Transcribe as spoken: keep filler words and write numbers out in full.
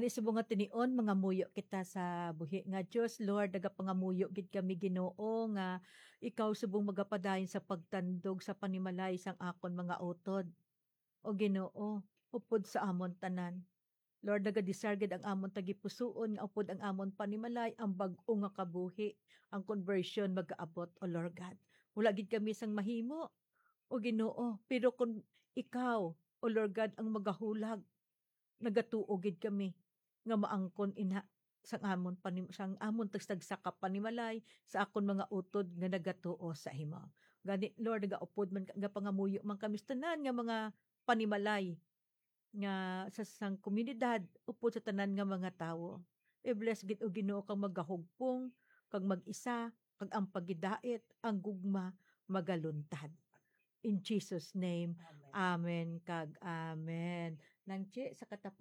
Ni subong nga tinion, mangamuyo kita sa buhi nga Dios. Lord, nagapangamuyo gid kami, Ginoo, nga ikaw subong magapadayon sa pagtandog sa panimalay sang akon mga utod. O Ginoo, upod sa amon tanan. Lord, nagadesire gid ang amon tagipusoon nga upod ang amon panimalay ang bag-o nga kabuhi, ang conversion magaabot, O Lord God. Wala gid kami sang mahimo, O Ginoo, pero kun ikaw, O Lord God, ang magahulag, nagatuo gid kami nga maangkon ina sang amon panim-, sang amon tagsa-tagsa ka panimalay sa akon mga utod nga nagatuo sa imo. Gani, Lord, nagaupod man ka, nagapangamuyo man kami sa tanan nga mga panimalay nga sa sang komunidad, upod sa tanan nga mga tawo. I-bless gid, O Ginoo, kang magahugpong, kag mag-isa, kag ang pagidait, ang gugma, magaluntad. In Jesus' name, amen, kag amen. Nang Chi, sa katapos